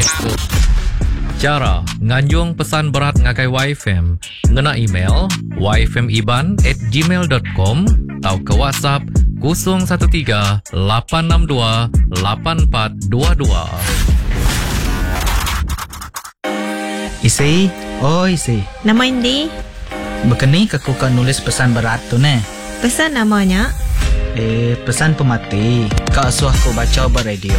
Diatu. Chara nganjung pesan berat ngagai YFM ngena email yfmiban at gmail dot com tauka WhatsApp 013 862 8422. Isi, oi isi. Nama indi? Bekeni ke ku ka nulis pesan berat tu neh? Pesan nama nya? Eh, pesan pemati ka asuh ku bacha ba radio.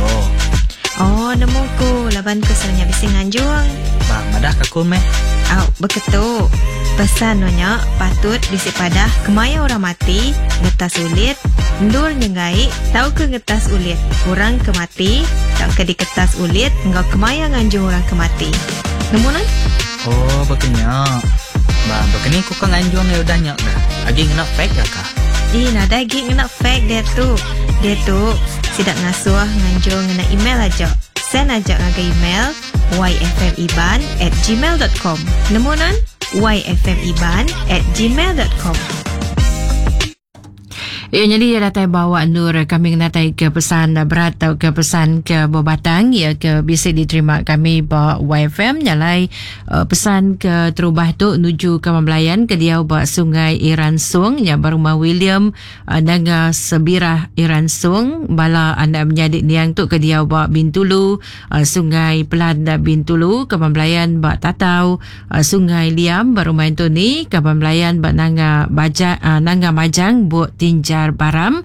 Oh, nemu ku laban ku selalu nya bisi nganjung. Ba, madah ka ku meh. Au, beketu. Pesan nu nya patut bisi padah kemaya orang mati, ngetas ulit, endur nyenggai tauka ngetas ulit orang ke mati tauka diketas ulit enggau kemaya nganjung orang ke mati. Nemu nuan? Oh, baka nya. Ba, baka ni ku ka nganjung iya udah nya ga? Agi ngena fax ga ka? Ih, nadai agi ngena fax diatu. Diatu, sida ngasuh nganjung ngena email aja. Send aja ngagai email yfmiban at gmail dot com. Nemu nuan? yfmiban at gmail dot com. Iya nyadi iya datai bawa endur kami ngenatai ke pesan berat tau ke pesan ke bebatang iya ke bisi diterima kami ba YFM nyalai uh, pesan ke terubah tu nuju ke Belayan ke diau ba Sungai Iran Sung nya ba rumah William uh, Nanga Sebirah Iran Sung bala anak menyadi niang tu ke diau ba Bintulu uh, Sungai Pelan Bintulu ke Belayan ba Tatau Sungai Liam ba Rumah Anthony, Kaban Belayan ba Nanga Baja, Nanga Majang Buk Tinjar Baram,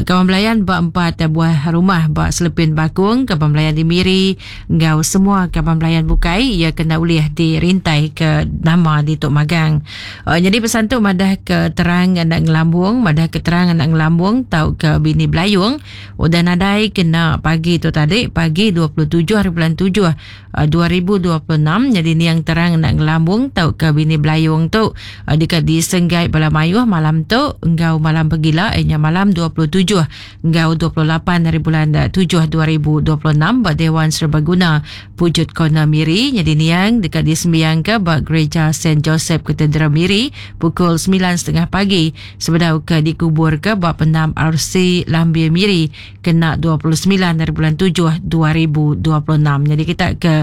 Kaban Belayan ba empat buah rumah ba Selepin Bakong, Kaban Belayan di Miri enggau semua kaban belayan bukai iya kena ulih dirintai ke nama ditu magang. Nyadi pesan tu madah ke terang anak ngelambung, madah ke terang anak ngelambung tauka bini Belayung udah nadai kena pagi tu tadi, pagi 27 hari bulan 7 2026 nyadi niang terang enda ngelambung tauka bini Belayung tu deka disenggai bala mayuh malam tu enggau malam pegila iya nya malam 27 enggau 28 hari bulan 7 2026 ba Dewan Serbaguna Pujut Corner Miri nyadi niang deka disembiangka ba Gereja Saint Joseph Cathedral Miri pukul 9.30 pagi sebedau ke dikuburka ba Pendam RC Lambir Miri kena 29 hari bulan 7 2026. Jadi kita ke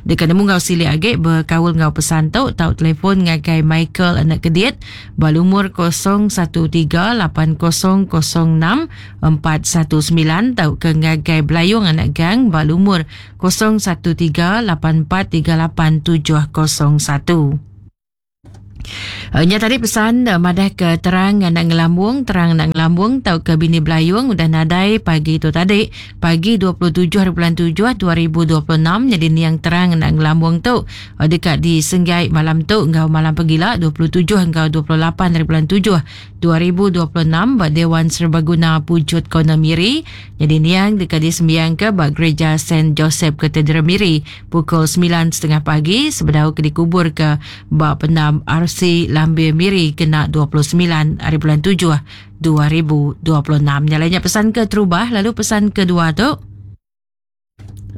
deka nemu enggau silik agi bekaul enggau pesan tu tau telefon ngagai Michael Anak Kedit ba lumur 0138006 419 tauka ngagai Belayung Anak Gang ba lumur 0138438701. Nya tadi pesan madah ke terang anak ngelambung, terang anak ngelambung tauka bini Belayung udah nadai pagi tu tadi, pagi 27 hari bulan 7 2026 nyadi niang terang anak ngelambung tu deka disenggai malam tu enggau malam pegila 27 enggau 28 hari bulan 7 2026 ba Dewan Serbaguna Pujut Corner Miri nyadi niang deka disembiangka ba Gereja Saint Joseph Cathedral Miri pukul 9.30 pagi sebedau ke dikuburka ba Pendam RC Lambir Miri kena 29 hari bulan 7 2026. Nya alai nya pesan keterubah lalu pesan kedua tu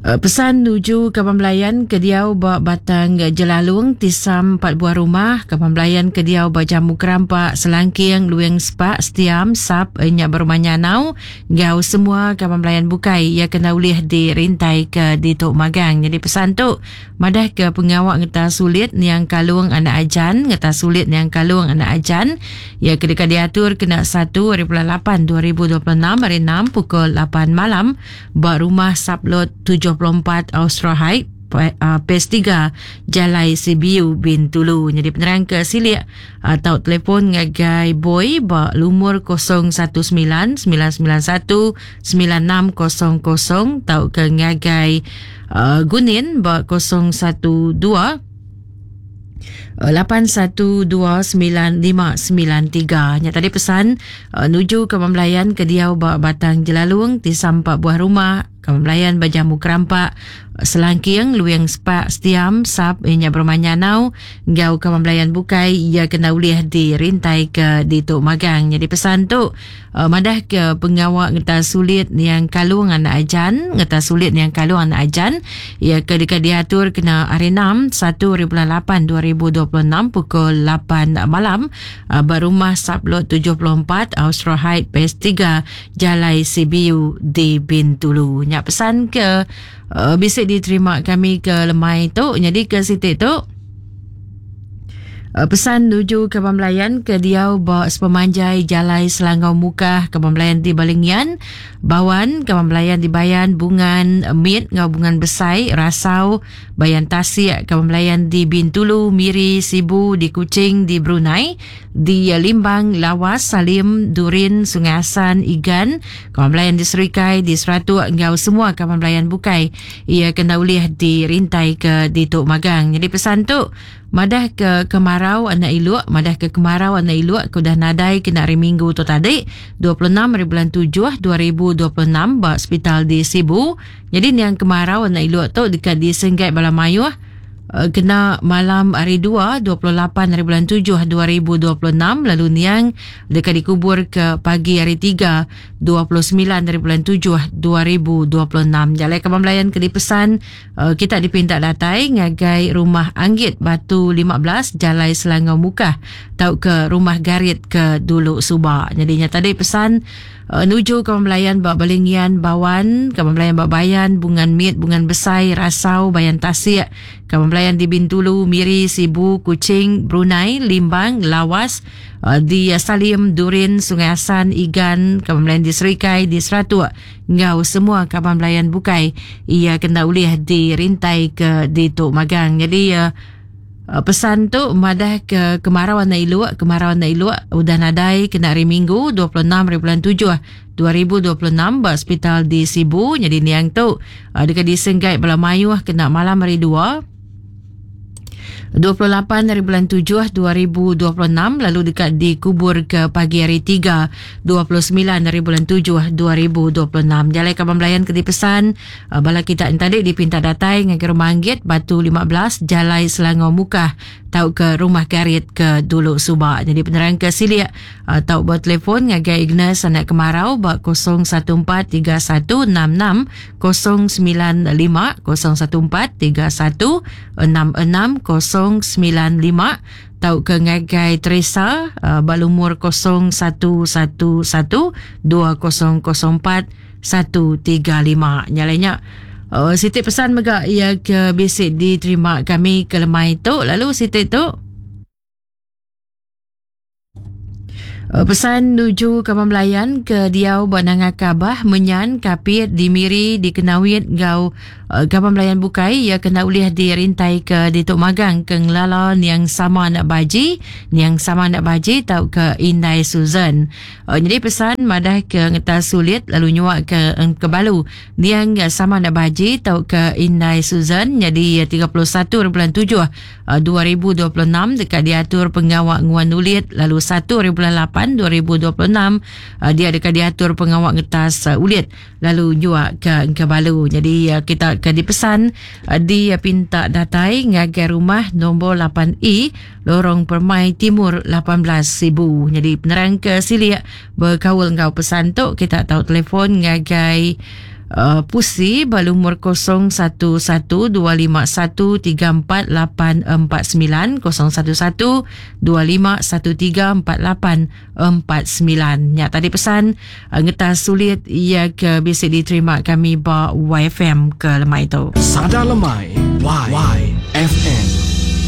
Pesan nuju kaban belayan ke diau ba Batang Jelalung, Tisam empat buah rumah, kaban belayan ke diau ba Jamu Kerampak, Selangking, Luing Sepak, Setiam, Sap, nya ba Rumah Nyanau enggau semua kaban belayan bukai iya kena ulih dirintai ke ditu magang. Nyadi pesan tu madah ke pengawa ngetas ulit niang Kalung anak Ajan, ngetas ulit niang Kalung anak Ajan iya ke deka diatur kena satu ari bulan lapan 2026 hari enam pukul lapan malam ba Rumah Sublot 74 Austro Heights, Phase 3, Jalai Sibiu, Bintulu. Nyadi penerang ke silik tau telefon ngagai Boy ba lumur 019 991 9600 tauka ngagai Gunin ba 012 8129593. Nya tadi pesan uh, nuju ke Belayan ke diau ba Batang Jelalung ti sampa buah rumah ke Belayan ba Jamu Kerampak Selangking Luing Sepak Setiam Sap inya berumah Nyanau enggau ke Belayan bukai ia kena ulih dirintai ke ditu magang. Jadi pesan tu Madah ke pengawa ngetas sulit niang Kalung anak Ajan, ngetas sulit niang Kalung anak Ajan, iya ke deka diatur kena hari enam, satu hari bulan lapan 2026 pukul lapan malam ba Rumah Sublot 74 Austro Heights Phase 3 Jalai CBU di Bintulu. Nya pesan ke bisi di. diterima kami ke lemai tu. Nyadi ke siti tu pesan nuju kaban belayan ke diau ba sepemanjai Jalai Selangau Mukah, kaban belayan di Balingian, Bawan, kaban belayan di Bayan, Bungan Mit enggau Bungan Besai, Rasau, Bayan Tasik, kaban belayan di Bintulu, Miri, Sibu, di Kuching, di Brunei, di Limbang, Lawas, Salim, Durin, Sungai Assan, Igan, kaban belayan di Serikai, di Seratuk enggau semua kaban belayan bukai iya kena ulih dirintai ke ditu magang. Nyadi pesan tu Madah ke kemarau anak iluk Madah ke kemarau anak iluk ke udah nadai kena hari Minggu tu tadi, 26 hari bulan tujuh 2026 ba sepital di Sibu. Nyadi niang kemarau anak iluk tu deka disenggai bala mayuh kena malam hari dua, 28 hari bulan tujuh 2026 lalu niang deka dikubur ke pagi hari tiga, 29 hari bulan tujuh 2026. Jalai kaban belayan ke dipesan Kita dipinta datai ngagai Rumah Anggit Batu 15 Jalai Selangau Mukah tauka Rumah Garit ke dulu suba. Nyadi nya tadi pesan nuju kaban belayan ba Balingian, Bawan, kaban belayan ba Bayan, Bungan Mit, Bungan Besai, Rasau, Bayan Tasik, kaban belayan di Bintulu, Miri, Sibu, Kuching, Brunei, Limbang, Lawas, di Salim, Durin, Sungai Assan, Igan, kaban belayan di Serikai, di Seratuk, enggau semua kaban belayan bukai iya kena ulih dirintai ke ditu magang. Nyadi pesan tu madah ke kemarau anak iluk, kemarau anak iluk udah nadai kena hari Minggu 26 hari bulan 7 2026 ba sepital di Sibu. Nyadi niang tu deka disenggai bala mayuh kena malam hari dua 28 hari bulan 7 2026 lalu deka dikubur ke pagi hari 3 29 hari bulan 7 2026. Jalai kaban belayan ke dipesan bala kita tadi dipinta datai ngagai Rumah Anggit Batu 15 Jalai Selangor Mukah tauka Rumah Garit ke dulu suba. Jadi penerang ke silik tau bertelefon ngagai Ignas anak kemarau ba 014 3166 095 014 31 66 095 tauka ngagai Teresa ba lumur 0111 2004 135. Nya alai nya siti pesan mega iya ke bisi diterima kami ke lemai tu lalu siti tu Pesan nuju kaban belayan ke diau ba Nanga Kabah, Menyan, Kapit, di Miri, di Kenawit enggau kaban belayan bukai iya kena ulih dirintai ke ditu magang ke ngelala niang sama anak baji, niang sama anak baji tauka indai Susan. Nyadi pesan madah ke ngetas sulit lalu nyua ke engkebalu niang sama anak baji tauka indai Susan nyadi 31 bulan 7 2026 deka diatur pengawa nguan ulit lalu 1 hari bulan 8 2026 dia deka diatur pengawa ngetas ulit lalu nyua ke engka balu. Jadi kita ke dipesan dipinta datai ngagai rumah nombor 8E Lorong Permai Timur 18 Sibu. Jadi penerang ke silik bekaul enggau pesan tu kita tau telefon ngagai Pusi ba lumur 0112513484 011 25134849. Nya tadi pesan ngetas sulit iya ke bisi diterima kami ba YFM ke lemai tu. Sada Lemai Y FM.